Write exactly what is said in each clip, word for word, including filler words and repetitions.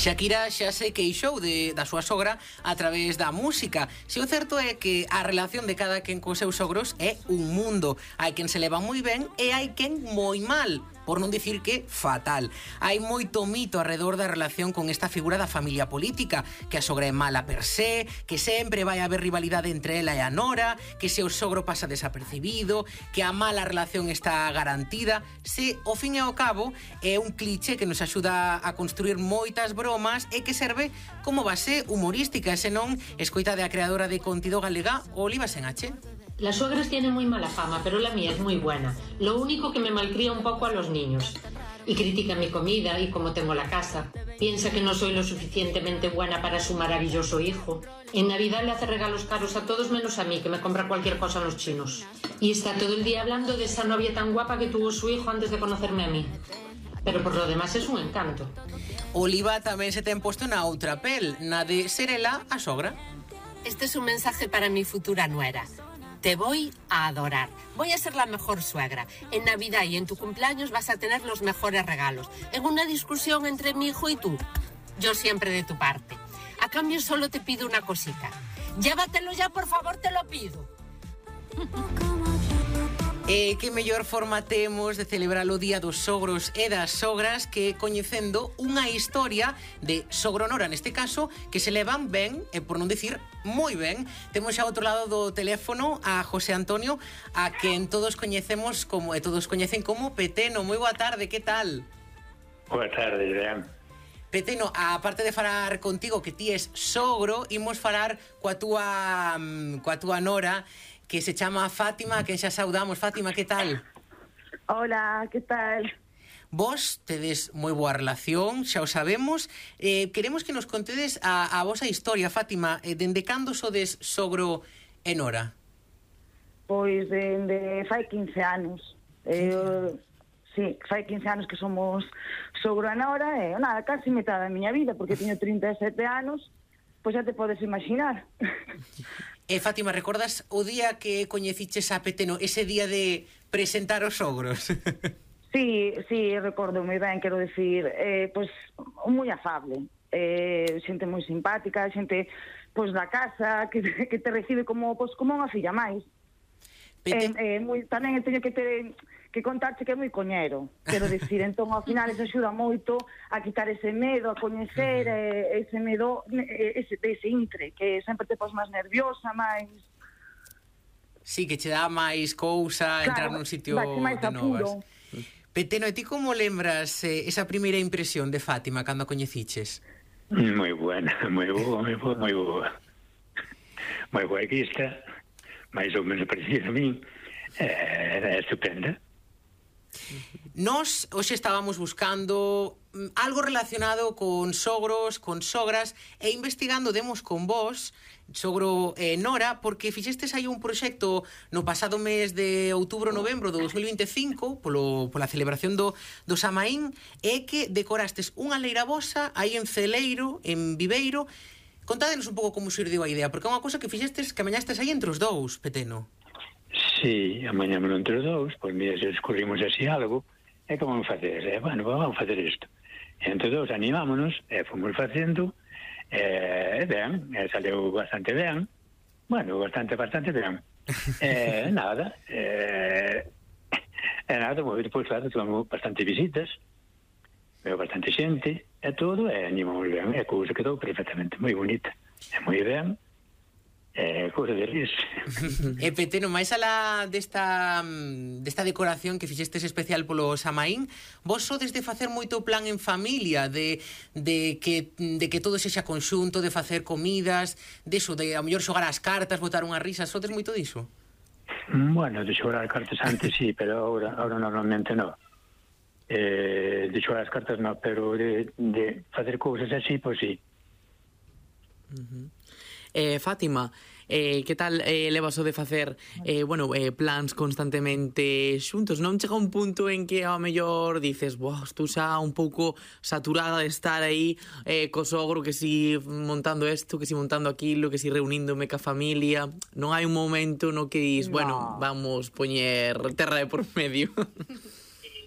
Shakira xa se queixou de, da súa sogra a través da música. Se o certo é que a relación de cada quen cos seus sogros é un mundo. Hai quen se leva moi ben e hai quen moi mal, por non dicir que fatal. Hai moito mito alrededor da relación con esta figura da familia política, que a sogra é mala per se, que sempre vai haber rivalidade entre ela e a nora, que se o sogro pasa desapercibido, que a mala relación está garantida. Se, ao fin e ao cabo, é un cliché que nos axuda a construir moitas bromas e que serve como base humorística, e senón escoita da creadora de contido galega Oliva Senache. Las suegras tienen muy mala fama, pero la mía es muy buena. Lo único que me malcría un poco a los niños. Y critica mi comida y cómo tengo la casa. Piensa que no soy lo suficientemente buena para su maravilloso hijo. En Navidad le hace regalos caros a todos menos a mí, que me compra cualquier cosa a los chinos. Y está todo el día hablando de esa novia tan guapa que tuvo su hijo antes de conocerme a mí. Pero por lo demás es un encanto. Oliva tamén se ten posto na outra pel, na de ser ela a sogra. Este es un mensaje para mi futura nuera. Te voy a adorar. Voy a ser la mejor suegra. En Navidad y en tu cumpleaños vas a tener los mejores regalos. En una discusión entre mi hijo y tú, yo siempre de tu parte. A cambio solo te pido una cosita. Llévatelo ya, por favor, te lo pido. E que mellor forma temos de celebrar o Día dos Sogros e das Sogras que coñecendo unha historia de sogro-nora, neste caso, que se levan ben, e por non dicir moi ben. Temos xa ao outro lado do teléfono a José Antonio, a quen todos coñecemos como, e todos coñecen como Peteno. Moi boa tarde, que tal? Boa tarde, Joan. Peteno, a parte de falar contigo que ti es sogro, imos falar coa túa, coa túa nora, que se chama Fátima, que xa saudamos. Fátima, que tal? Hola, que tal? Vos tedes moi boa relación, xa o sabemos. Eh, queremos que nos contedes a, a vosa historia, Fátima. Eh, dende cando sodes sogro e nora? Pois dende fai quince anos. Eh, sí, fai quince anos que somos sogro e nora, e nada, casi metade da miña vida, porque teño trinta e sete anos, pois xa te podes imaginar. E, Fátima, recordas o día que coñeciches a Peteno, ese día de presentar os sogros? Sí, sí, recordo moi ben, quero dicir, eh, pois, moi afable, eh, xente moi simpática, xente, pois, da casa, que, que te recibe como, pois, como unha filla máis. Pete... Eh, eh, moi, tamén teño que ter que contarche que é moi coñero, quero dicir, entón, ao final, eso axuda moito a quitar ese medo, a coñecer, uh-huh. eh, ese medo, ese, ese intre, que sempre te pos máis nerviosa, máis... Sí, que che dá máis cousa, claro, entrar nun sitio de novas. Peteno, e ti como lembras eh, esa primeira impresión de Fátima cando a coñeciches? Moi buena, moi boa, moi boa, moi boa. Moi boa equista, máis ou menos parecida a min, eh, era estupenda. Nós hoxe estábamos buscando algo relacionado con sogros, con sogras, e investigando demos con vos, sogro e nora, porque fixestes aí un proxecto no pasado mes de outubro-novembro do dos mil vinte e cinco polo, pola celebración do, do Samaín, e que decorastes unha leira vosa aí en Celeiro, en Viveiro. Contádenos un pouco como xurdiu a idea, porque é unha cousa que fixestes, que amañastes aí entre os dous, Peteno. Sí, amañámonos entre os dous, pois mira, se descubrimos así algo, e que vamos facer? Eh, bueno, vamos facer isto. E entre dous animámonos, e fomos facendo, e ben, e saleu bastante ben, bueno, bastante, bastante ben. E nada, e, e nada, pois, pois claro, tivemos bastante visitas, veo bastante xente, e todo, e animamos ben, e a cousa quedou perfectamente moi bonita, e moi ben. Eh, cousa de ris. E Peteno, máis alá desta, desta decoración que fixestes especial polo Samaín, vos sodes de facer moito plan en familia, de, de, que, de que todo sexa conxunto, de facer comidas, de eso, de a mellor xogar as cartas, botar unha risa, sodes moito diso? Bueno, de xogar as cartas antes sí, pero ahora, ahora normalmente no. Eh, de xogar as cartas no, pero de, de facer cousas así, pois sí. Uh-huh. Eh, Fátima, eh, que tal eh, levas o de facer eh, bueno, eh, plans constantemente xuntos? Non chega un punto en que ao mellor dices, boh, estou xa un pouco saturada de estar aí eh, co sogro, que si montando isto, que si montando aquilo, que si reuníndome ca familia? Non hai un momento no que dis, no, bueno, vamos poñer terra de por medio?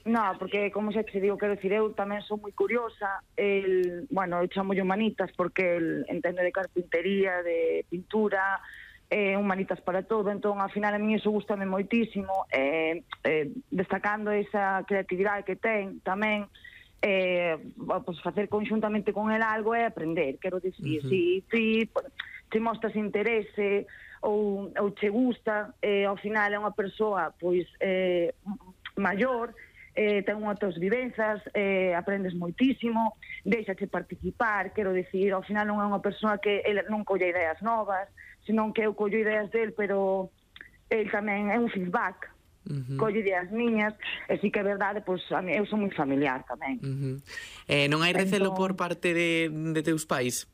No, porque como xa te digo, quero dicir, eu tamén sou moi curiosa, el, bueno, eu chamo humanitas porque el entende de carpintería, de pintura, eh, humanitas para todo, entón, ao final a mí iso gustame moitísimo, eh, eh, destacando esa creatividade que ten tamén, eh, pues facer conxuntamente con el algo é aprender, quero dicir, uh-huh. si ti te mostras interese ou, ou che gusta, eh, ao final é unha persoa, pois, eh, maior, eh, ten outras vivenzas, eh, aprendes moitísimo, deixache participar, quero dicir, ao final non é unha persoa que ele non colle ideas novas, senón que eu collo ideas del, pero el tamén é un feedback, uh-huh. colle ideas miñas, e si que é verdade, pois a mí, eu sou moi familiar tamén. Uh-huh. Eh, non hai recelo entón... por parte de, de teus pais?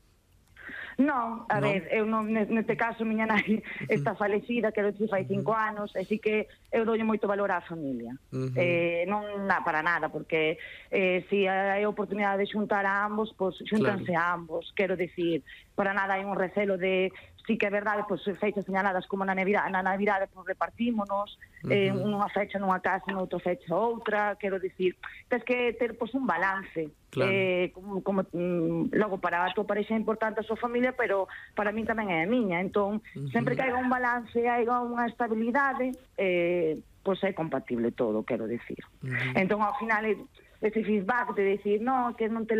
Non, a no. ver, eu non, neste caso miña nai está falecida, quero dicir, fai cinco uh-huh. anos, así que eu doulle moito valor á familia. Uh-huh. Eh, non na, para nada, porque eh, se si hai oportunidade de xuntar a ambos, pois pues, xúntanse claro. a ambos, quero dicir, para nada hai un recelo de, sí que é verdade, pois pues, fechas señaladas como na Navidade, na Navidade pois pues, repartímonos, uh-huh. eh, unha fecha nunha casa, noutra fecha outra, quero dicir, tens que ter pois pues, un balance. Claro. Eh, como, como mm, logo para a tua parexa é importante a súa familia, pero para min tamén é a miña, entón uh-huh. sempre que haiga un balance, haiga unha estabilidade, eh, pois é compatible todo, quero dicir. Uh-huh. Entón ao final ese feedback de decir, no, que non te